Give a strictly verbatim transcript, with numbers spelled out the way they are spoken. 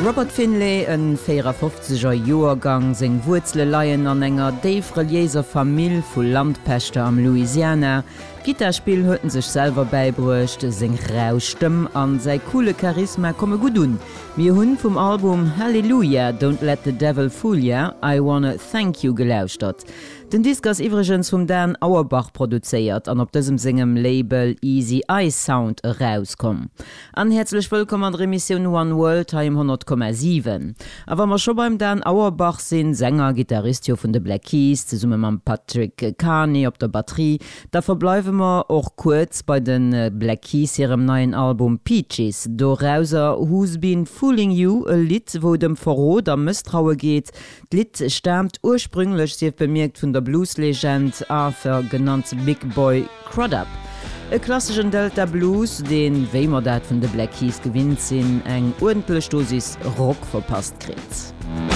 Robert Finley, en véierafofzeger Joergang, seng Wuerzele leien an enger déif reliéiser Famill vu Landpächter am Louisiana. D'Gittarspill huet en sech selwer bäibruecht, seng rau Stëmm an säi coole Charisma komme gutt un. Mir hunn vum Album Hallelujah, Don't Let the Devil Fool Ya, I Wanna Thank You gelauschtert. Den Disk ass iwwregens vum Dan Auerbach produzéiert an op dësem sengem Label Easy Eye Sound erauskomm. An häerzlech wëllkomm an der Emissioun One World hei um honnert Komma siwen. A wa mer scho beim Dan Auerbach sinn, Sänger, Gittarist jo vun de Black Keys, zesumme mam Patrick Carney op der Batterie, da verbleiwe mer och kuerz bei de Black Keys hirem neien Album Peaches. Dorauser Who's Been Fooling You, e Lidd, wou et ëm Verrot a Mësstraue geet. D'Lidd staamt ursprünglech, sief bemierkt, vun der Blues-Legend Arthur, genannt Big Boy Crudup. E klasseschen Delta Blues, deen, wéi mer dat vun de Black Keys gewinnt sinn, eng uerdentlech Dosis Rock verpasst kritt.